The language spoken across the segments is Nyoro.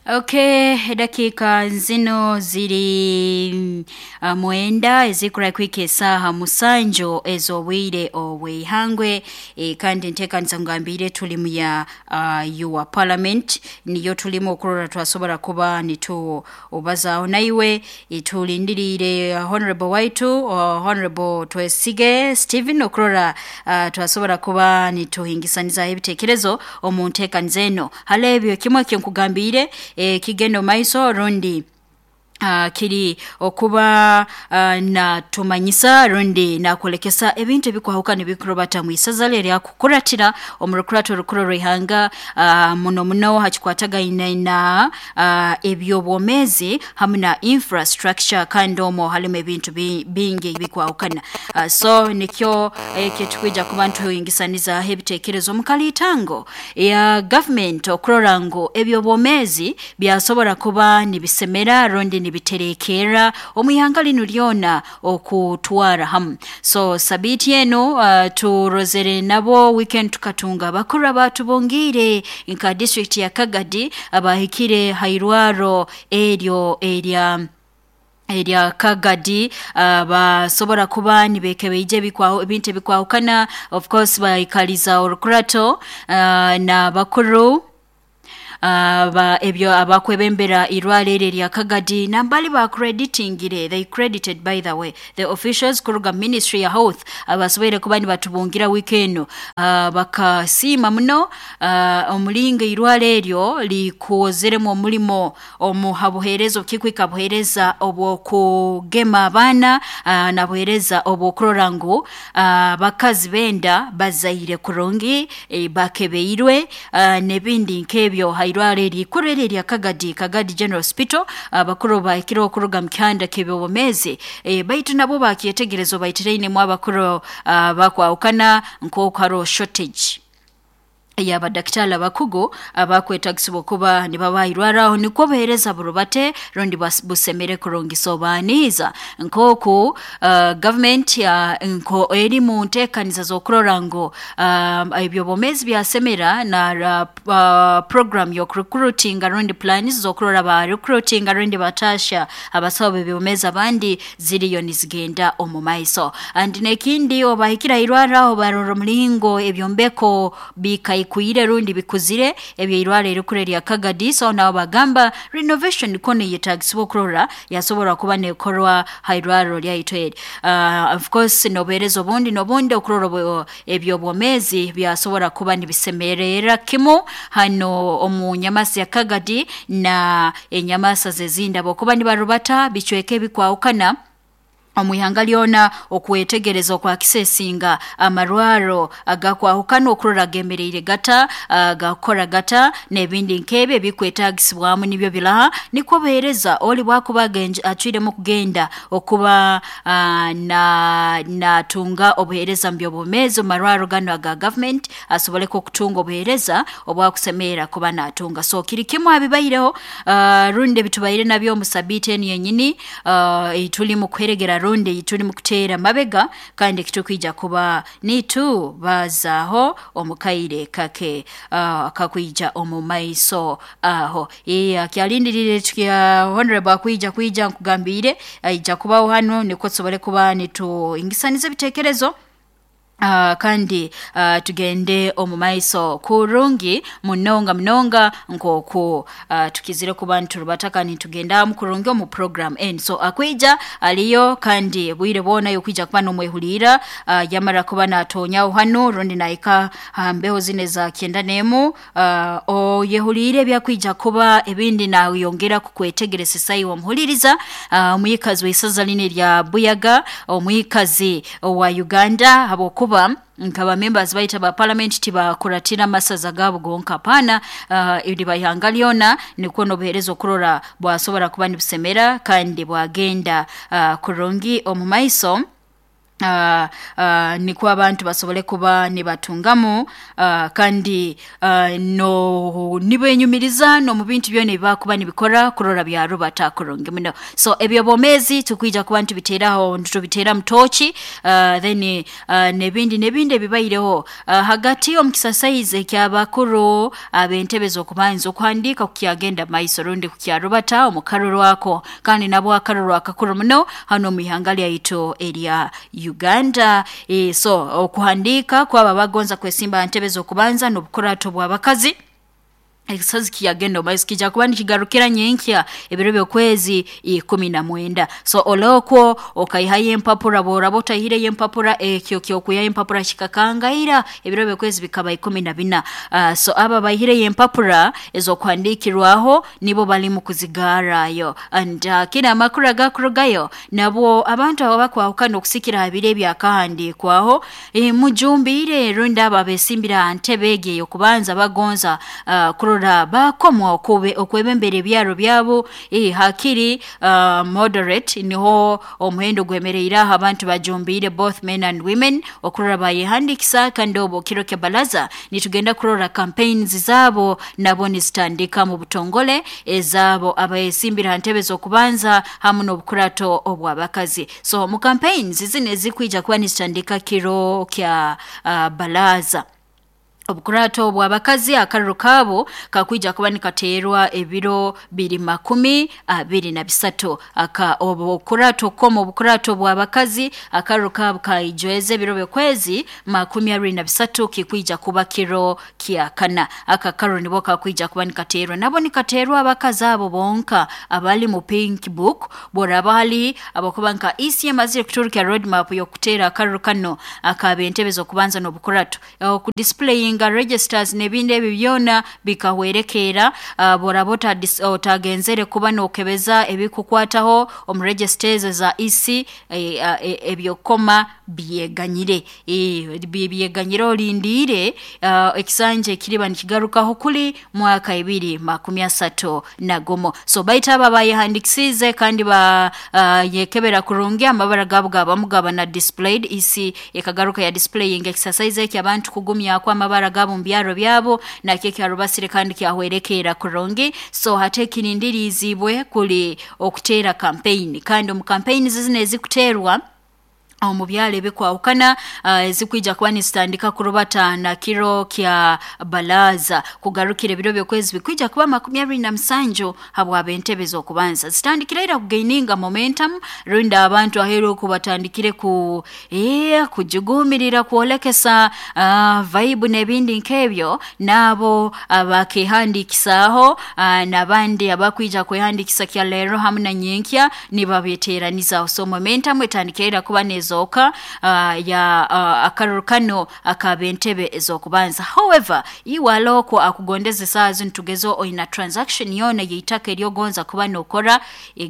Okay, dakika zino ziri 9 ezikura kwika esaaha 7 ez'obwire obw'eihangwe. Kandi nteekanisa ngambire tulimu ya your parliament niyo tulimu okurora twasobora kuba nitubazaho naiwe. Tulindiriire honorable waitu, Honorable Twesige Stephen, okurora twasobora kuba nituhingisanizaho ebiteekerezo omu nteekaniza eno. Hali ebyo kimu ekinkugambiire kigenda omu maiso rundi kiri okuba natumanyisa rundi nakwolekesa ebintu ebikwahukana ebikurubata mu isaza lye eryakukuratira omu rukurato orukuru orw'ihanga, muno muno hakikwatagaine na eby'obwomeezi hamu na infrastructure, kandi omwo halimu ebintu bingi ebikwahukana. So nikyo ekitukwija kuba nituhingisanizaaho ebiteekerezo omu kaliitango ya gavumenti okurora ngu eby'obwomeezi byasobora kuba nibisemera rundi nibiterekerra omu ihanga linu lyona okutwara hamu. So sabiiti enu turozere nabo weekend tukatunga abakuru abatubungiire nka district ya Kagadi abahikire ha irwaro eryo erya Kagadi, basobora kuba nibekebeija ebintu ebikwahukana. Of course baikaliza orukurato n'abakuru aba ebyo abakwebembera irwaro eri erya Kagadi, nambali bakreditingire, they credited by the way the officials kuruga ministry ya health abasoboire kuba nibatubungira wiiki eno, bakasiima muno omulingo irwaro eryo likozeremu omulimo omu habuheereza obukikwika buheereza obw'okugema abaana, nabuheereza obw'okurora ngu abakazi b'enda bazaire kurungi, bakebeirwe, n'ebindi nk'ebyo ha irwaro eri ikuru eri erya Kagadi, Kagadi General Hospital. Abakuru bahikireho kuruga mu kihanda ky'eby'obwomeezi, baitu nabo bakyetegereza obaitirainemu abakuru bakwahukana nk'oku haroho shortage ey'abadakitaali abakugu abakwetagisibwa okuba nibabaha irwaro aho nikwo obuheereza burubate rundi busemere kurungi. So baaniiza nk'oku gavumenti nko eri mu nteekaniza z'okurora ngu eby'obwomeezi byasemera na program y'okurecruitinga rundi plans z'okurora ba recruitinga rundi bataasya abasaho b'eby'obwomeezi abandi ziriyo nizigenda omu maiso. And n'ekindi obahikire ha irwaro aho barora omulingo ebyombeko bikaikwire rundi bikuzire eby'eirwaro erikuru erya Kagadi. So nabo bagamba renovation ko neyetagisibwa okurora yasobora kuba nekorwa ha irwaro lyaitu eri. Of course n'obuheereza obundi n'obundi okurora eby'obwomeezi byasobora kuba nibisemererra kimu hano omu nyamasa ya Kagadi na enyamasa z'ezindi habwokuba nibarubata bicweka ebikwahukana omu ihanga lyona okwetegereza okwakisesinga amarwaro agakwahukana okurora gemereire gata, gakukora gata n'ebindi nk'ebyo ebikwetagisibwamu nibyo biraha nikwo obuheereza oli bwakuba acwiremu kugenda okuba natunga obuheereza mu by'obwomeezi omu marwaro ganu aga gavumenti asoboleke okutunga obuheereza obwakusemerra kuba natunga. So kiri kimu habibaireho, rundi ebitubaire nabyo omu sabiiti enu yenyini eitulimu kuheregera rundi tulimu kuteera mabega, kandi kitukwija kuba nitubazaaho omu kaire kake kakwija omu maiso aho. Kyalindiriire kya honorable akwija kwija nkugambiire aija kubaho hanu nikwo tusobole kuba nituhingisaniza ebiteekerezo, kandi tugende omu maiso kurungi munonga munonga nk'oku tukizire kuba niturubata kandi nitugenda kurungi omu program eni. So akwija aliyo kandi bwire bwona yokwija kuba nomwehuliira, yamara kuba natonyaho hanu rundi nahika ha mbeho zinu eza 91, oyehuliire ebyakwija kuba ebindi nayongera kukwetegereza iwe omuhuliriza, omwikazi w'isaza linu erya Buyaga, omwikazi owa Uganda, habwokuba nkaba members baitu aba parliament tibakuratira amasaza gaabo gonka, hapana, liba ihanga lyona nikwo n'obuheereza okurora bwasobora kuba nibusemera kandi bwagenda kurungi omu maiso. Nikwo abantu basobole kuba nibatungamu, kandi no nibenyumiriza n'omu bintu byona ebibakuba nibikora kurora byarubata kurungi muno. So ebyobwomeezi tukwija kuba ntubiteeraho, ntubiteera mutoki, then n'ebindi n'ebindi ebibaireho hagati omu kisasaizi eky'abakuru ab'entebe z'okubanza okuhandiika kukyagenda maiso rundi kukyarubata omu karuru ako, kandi nabwo akaruru akakuru muno hanu omu ihanga lyaitu erya Uganda. So okuhandiika kwabo abagonza kwesimba ha ntebe z'okubanza n'obukurato bw'abakazi ekisazi kiyagenda omu maiso kijja kuba nikigarukira nyenkya ebiro by'okwezi 19. So olokwo okaihayo empapura, bworaba otaihireyo empapura, ekyo ky'okwihayo empapura kikakangaira ebiro by'okwezi bikaba 14. So abo abaihireyo empapura ez'okuhandiikirwaho nibo balimu kuzigarrayo. And kinu amakuru agakurugayo nabwo abantu abo abakwahukana okusikira ha biro ebyakahandiikwaho, mujumbiire rundi abo abeesimbire ha ntebe egi ey'okubanza bagonza kurora bakomwa okwebembera ebyaro byabo, hakiri moderate niho omuhendo gwemereire aho abantu bajumbiire both men and women okurora bayehandiikisa. Kandi obu kiro kya balaza nitugenda kurora campaigns zaabo nabo nizitandika mu butongole ezaabo abeesimbire ha ntebe z'okubanza hamu n'obukurato obw'abakazi. So mu campaigns zinu ezikwija kuba nizitandika kiro kya balaza, obukurato obw'abakazi akaruru kaabo kakwija kuba nikateerwa ebiro biri 23. Aka obukurato koma obukurato bw'abakazi akaruru kaabo kaijweza ebiro by'okwezi 23 kikwija kuba kiro kya kana. Aka karuru nibo kakwija kuba nikateerwa, nabo nikateerwa abakazi abo bonka abali mu pink book. Boraba hali abakuba nka EC emazire kuturukya road map y'okuteera akaruru kano akaba entebe z'okubanza n'obukurato okudisplayinga registers n'ebindi ebyo byona bikahwerekeera. Boraba otagenzere kuba n'okebeza ebikukwataho omu registers za EC, ebyokoma byeganyire, byeganyire olindiire ekisanja ekiriba nikigarukaho kuli mwaka 2031. So baitu abo abayehandikisiize kandi ba yekebera kurungi amabara gaabo gabamu gaba na displayed, EC ekagaruka ya displaying exercise eki abantu kugumyako amabara gaabo mu byaro byabo nakyo kyarubasire kandi kyahwerekeera kurungi. So hati ekirindiriizibwe kuli okuteera campaign, kandi omu campaigns zinu ezikuteerwa omu byaro ebikwahukana, ezikwija kuba nizitandika kurubata na kiro kya balaza kugarukira ebiro by'okwezi bikwija kuba 27 habw'ab'entebe z'okubanza zitandikire ira kugaininga momentum, rundi abantu aheeru oku batandikire ku kujugumirira kwolekesa vibe n'ebindi nk'ebyo. N'abo abakehandiikisaaho, n'abandi abakwija kwehandiikisa kya leero hamu na nyenkya nibabeteeranizaho. So momentum etandikire ira kuba nezooka ya akaruru kano ak'ab'entebe ez'okubanza. However, iwe alokwo akugondeza esaaha zinu tugeze oina transaction yoona y'eitaka eryogonza kuba nookora,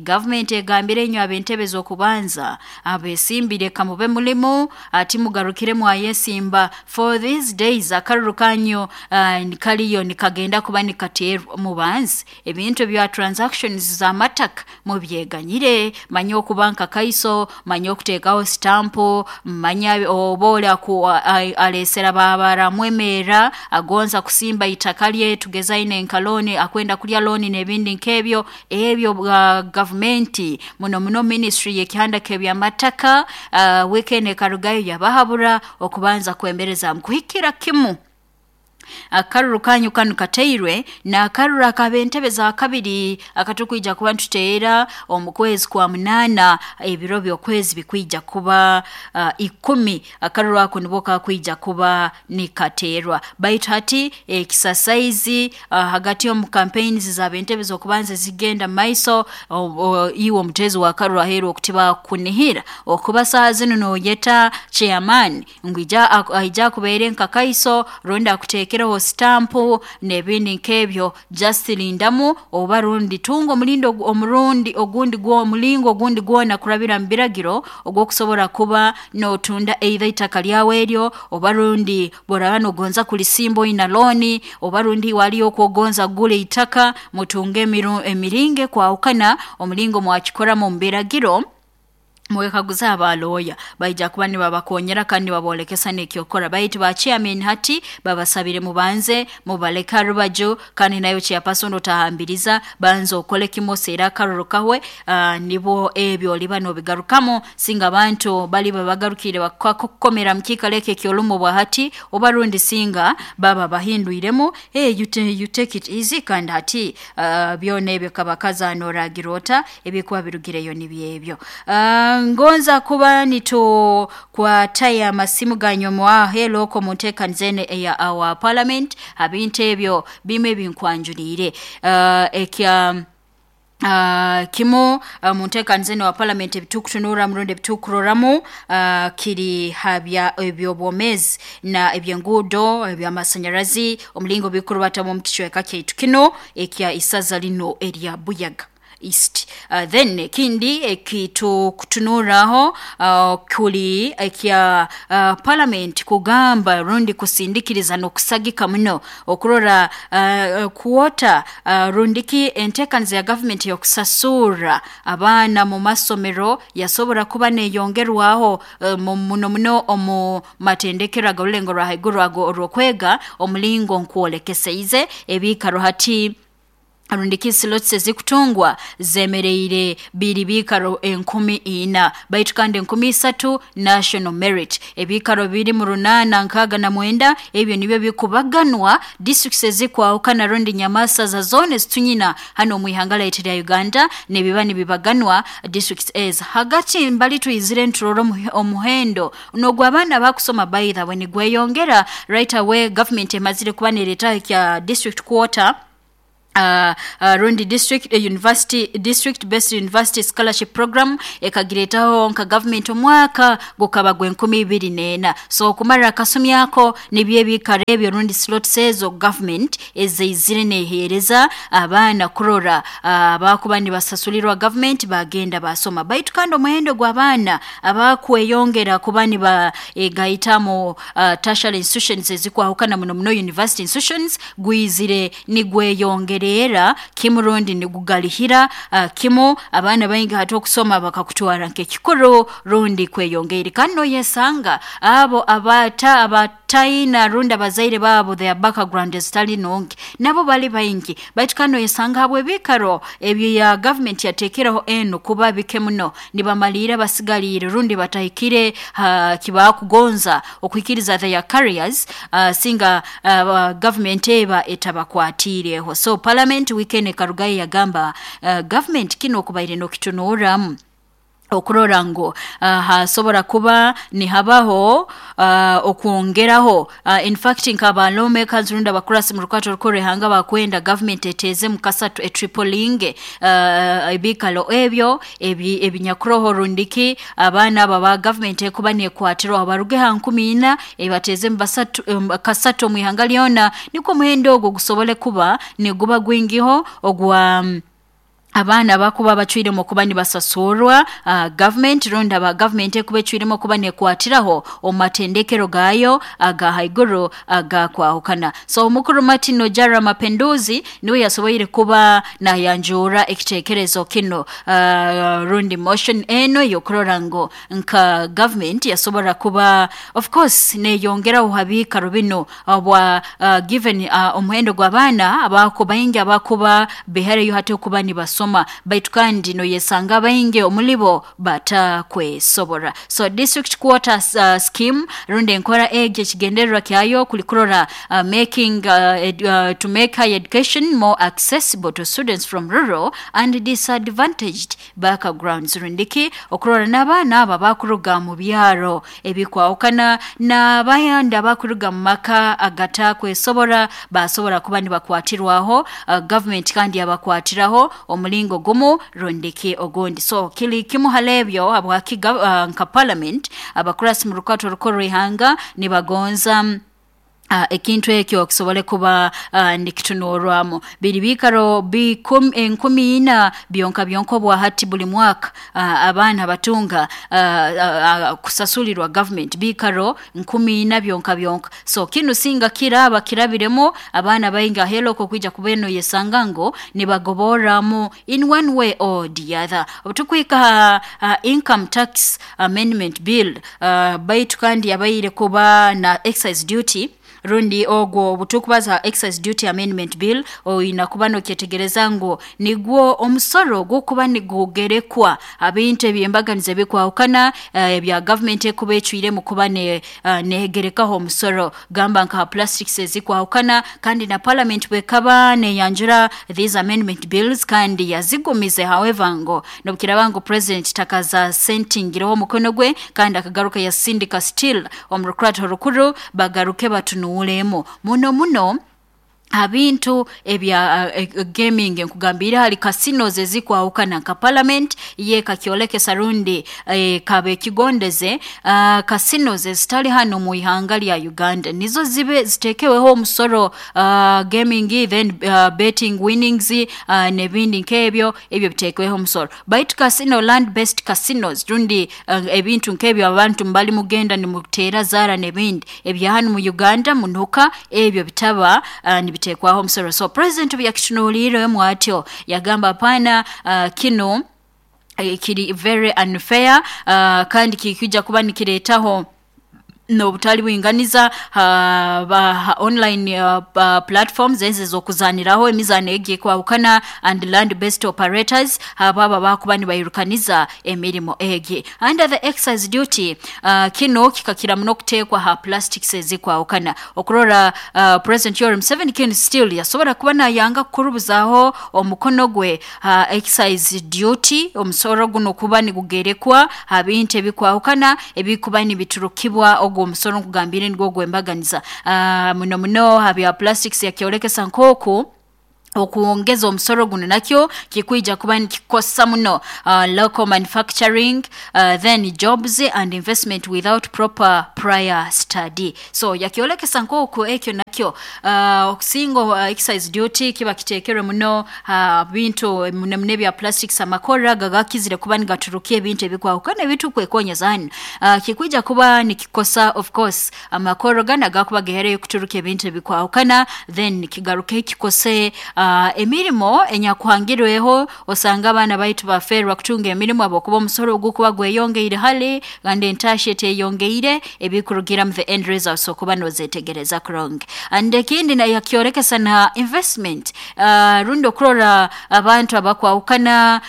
government egambire inywe ab'entebe z'okubanza abeesimbire kamube mulimu ati mugarukire mwayesimba for these days akaruru kanyu kaliyo nikagenda kuba nikateerwa mubanzi ebintu ebya transactions z'amataka mubyeganyire. Manya okuba nka kaiso, manya okuteekaho sitampu, manya oba oli aleesera babaramwemerra agonza kusimba itaka lye tugeze aine nka looni akwenda kulya looni n'ebindi nk'ebyo. Ebyo bwa gavumenti muno muno ministry y'ekihanda k'ebyamataka, weekend ekarugayo yabahabura okubanza kwemereza kuhikira kimu akaruru kanyu kanu kateirwe n'akaruru ak'ab'entebe za kabiri akatukwija kuba nituteera omu kwezi kwa 8 ebiro by'okwezi bikwija kuba 10. Akaruru ako nibwo kakwija kuba nikateerwa. Baitu hati ekisasaizi hagati omu campaigns z'ab'entebe z'okubanza zigenda maiso, iwe omuteezi w'akaruru aheeru okutiba kunihira okuba saaha zinu nooyeta chairman ngu aija akubeere nka kaiso rundi akuteekereho sitampu n'ebindi nk'ebyo, just lindamu oba rundi tunga omulindo omurundi ogundi omulingo ogundi gwona kurabira mu biragiro ogw'okusobora kuba nootunda either itaka lyawe eryo, oba rundi bworaba nogonza kulisimba oina looni, oba rundi waliyo okwogonza kugura itaka, mutunge emiringo ekwahukana omulingo mwakikoramu omu biragiro. Mwekaguza abalooya baija kuba nibabakonyera kandi nibabolekesa n'ekyokora. Baitu ba chairman hati babasabire mubanze mubaleka rubaju, kandi nayo chairperson otahambiriza, banza okole kimoseera akaruru kahwe, nibo ebyo oliba nobigarukamu. Singa abantu bali babagarukire bakakukomera mu kiikaro ekyo ekyolumu bwa hati, oba rundi singa baba bahindwiremu, hey, you take it easy. Kandi hati byona ebyo kabakaza noragira ota ebikuba birugireyo nibyebyo. Ngonza kuba nitukwataya amasimu ganyuma hello ko muntekanizene eya our parliament abintu ebyo bimwe binkwanjulire ekya kimu muntekanizene wa parliament ebitukutunura murundi ebitukuroramu kiri habya ebyobwomezi na ebyenguudo ebyamasanyarazi omulingo bikurubatamu omu kicweka kyaitu kino ekya isaza lino erya Buyaga East. Then ekindi ekitukutunuraho kuli ekya parliament kugamba rundi kusindikiriza n'okusagika muno okurora kuota rundiki enteekaniza ya government y'okusasura abaana mu masomero yasobora kuba neyongerwaho muno muno omu matendekero ag'orulengo rwa haiguru ago orw'okwega omulingo nkwolekeseize ebiikaro hati rundiki slots ezikutungwa zemereire biri biikaro 4,000, baitu kandi 3,000 national merit. Ebiikaro biri mu 869 ebyo nibyo bikubaganwa districts ezikwahukana rundi nyamasaza zone zitunyina hano mu ihanga lyaitu lya Uganda, nibiba nibibaganwa districts ez hagati mbali twizire nturora omuhendo n'ogw'abaana bakusoma by the way nigweyongera right away. Government emazire kuba neretaho ekya district quota, rundi district university district based university scholarship program ekagiretaho nka government omwaka gukaba gwe 2004. So okumara akasumi ako nibyo ebikaro ebyo rundi slots ezo government ezeizire neheereza abaana kurora abakuba nibasasulirwa government bagenda basoma. Baitu kandi omuhendo gw'abaana abakweyongera kuba nibaegaita mu tertiary institutions ezikwahukana muno muno university institutions gwizire nigweyongera era kimu rundi nigugalihira kimu abaana baingi hati okusoma bakakutwara nk'ekikuru rundi kweyongeire. Kandi noyesanga abo abata abataina rundi abazaire baabo their background ezitali nungi nabo bali baingi. Baitu kandi noyesanga habwe ebikaro ebyo ya government yatekereho eno kuba bike muno, nibamalira basigaliire rundi batahikire kibakugonza okuhikiriza their careers, singa government eba etabakwatiireho. So parliament weekend ekarugayo yagamba government kino okubaire nokitunuramu okurora ngu hasobora kuba nihabaho okwongeraho. In fact nk'aba lawmakers rundi abakurasi mu rukwato rukuru ihanga bakwenda government eteeze mu kasatu etripolinge ebikalo ebyo ebinyakuroho rundiki abaana abo ba government ekuba nekwatirwaho baruge ha 4,000 ebateeze mu basatu, kasatu omu ihanga lyona, nikwo omuhendo ogwo gusobole kuba niguba gwingiho ogwa abaana bakuba bacwiremu okuba nibasasurwa government rundi aba government ekuba ecwiremu okuba nekwatiraho omu matendekero gaayo aga haiguru agakwahukana. So omukuru Martin Ojara Mapenduzi niwe yasoboire kuba nayanjura ekitekerezo kino, rundi motion eno ey'okurora ngu nka government yasobora kuba of course neyongeraho habiikaro bino obwa given omuhendo gw'abaana abako baingi abakuba bihareyo hati okuba nibasoma, baitu kandi noyesanga baingi omulibo batakwesobora. So district quota scheme rundi enkora egi ekigendererwa kyayo kuli kurora making to make higher education more accessible to students from rural and disadvantaged backgrounds, rundiki okurora n'abaana abo abakuruga mu byaro ebikwahukana n'abayandi abakuruga mu maka agatakwesobora basobora kuba nibakwatirwaho government kandi yabakwatiraho omulingo gumu rundiki ogundi. So kili kimu halebyo habwaki nka parliament abakurasi mu rukwato rukuru ihanga nibagonza. Ekintu ekyo kisobole kuba nikitunurwamu. Biri biikaro 4,000 byonka byonka obwa hati buli mwaka abaana batunga kusasulirwa government biikaro 4,000 byonka byonka. So kinu singa kiraba kirabiremu abaana baingi ahelo kwija kuba eno yesanga ngo nibagoborramu in one way or the other. Obutukwika income tax amendment bill, baitu kandi yabaire kuba na excise duty, rundi ogwo obutukubaza excise duty amendment bill, oyina kuba nokyetegereza ngu nigwo omusoro gukuba nigugerekwa abintu ebyembaganiza ebikwahukana ebya government ekuba ecwiremu kuba negerekaho omusoro, gamba nka plastics ezikwahukana. Kandi na parliament bwekaba neyanjura these amendment bills kandi yazigumize, however ngo nobukiraba ngu president takaza sentingireho omukono gwe, kandi akagaruka yasindika still omu rukurato rukuru bagaruke batunuulemu muno muno abintu ebya gaming. Nkugambire hali casinos ezikwahukana, nka parliament ye kakyolekesa rundi kabe ekigondeze casinos ezitali hano mu ihanga lya Uganda nizo zibe zitekeweho omusoro, gaming, then betting winnings, n'ebindi nk'ebyo, ebyo bitekeweho omusoro. Baitu casino, land based casinos, rundi ebintu nk'ebyo abantu mbali mugenda nimutera zara n'ebindi ebya hano mu Uganda munuka, ebyo bitaba nibitekwaho omusoro. So president byakitunuuliremu atyo yagamba hapana, kino kiri very unfair, kandi kikija kuba nikiretaho n'obutali bwinganiza online platforms ezi z'okuzaniraho emizaano egi ekwahukana and land based operators ababa bakuba nibairukaniza emirimo egi. Under the excise duty, kino kikakira muno kuteekwa ha plastics ezikwahukana. Okurora President Yoweri Museveni kinu still yasobora kuba nayanga kukurubuzaho omukono gwe excise duty, omusoro guno kuba nigugerekwa ha bintu ebikwahukana ebikuba nibiturukibwa ogwo omusoro nkugambire nigwo gwembaganiza muno muno habya plastics. Yakyolekesa nk'oku okuongeza omusoro guno nakyo kikwija kuba nikikosa muno local manufacturing, then jobs and investment without proper prior study. So yakyolekesa nk'oku ekyo nakyo okusinga excise duty kiba kiteekerwe muno bintu muno muno ebya plastics, amakora gagakizire kuba nigaturukia ebintu ebikwahukana ebitukwekonyeza hanu, kikwija kuba nikikosa of course amakoro gana gakuba gehereyo kuturuka ebintu ebikwahukana, then kigaruke kikose emirimo enyakuhangirweho. Osanga abaana baitu baferwa kutunga emirimo habwokuba omusoro ogukuba gweyongeire hali kandi entasha eteyongeire, ebikurugiramu the end results okuba nozetegereza kurungi. And ekindi yakyorekesa na investment, rundi okurora abantu abakwahukana,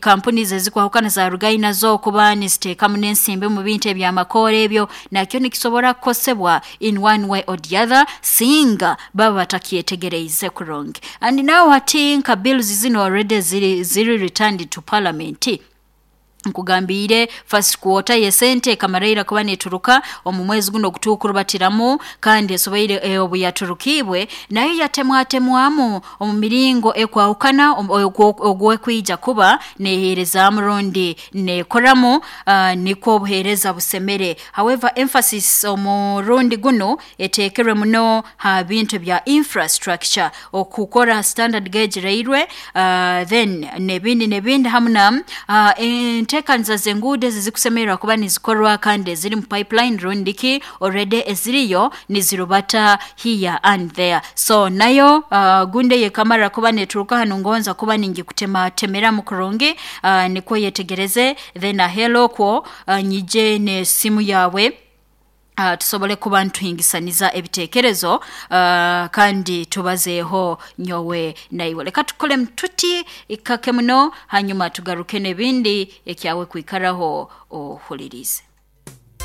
companies ezikwahukana zarugayo nazo okuba niziteekamu n'ensimbi mu bintu ebyamakoora, ebyo nakyo nikisobora kukosebwa in one way or the other singa baba batakyetegereize kurungi. And now hati nka bills zino already ziri returned to parliament. Nkugambire first quarter yesente ekamaraira kuba neturuka omu mwezi guno ogutukurubatiramu, kandi esoboire obu yaturukibwe nayo yatemwatemwamu omu miringo ekwahukana ogwekwija kuba neheerezaamu rundi nekoramu, nikwo obuheereza busemere. However, emphasis omurundi guno eteekerwe muno ha bintu bya infrastructure, okukora standard gauge railway, then nebindi nebindi, hamu na enteekaniza z'enguudo ezi zikusemererwa kuba nizikorwa kandi eziri mu pipeline rundiki already eziriyo nizirubata here and there. So nayo gunde yekamara kuba neturuka hanu, ngonza kuba ningikutematemeramu kurungi, nikwo yetegereze, then ahelo okwo nyije n'esimu yawe, tusobole kuba nituhingisaniza ebitekerezo, kandi tubazeeho nyowe naiwe. Leka tukole tuti ikake muno, hanyuma tugaruke n'ebindi ekyawe kwikaraho ohulirize.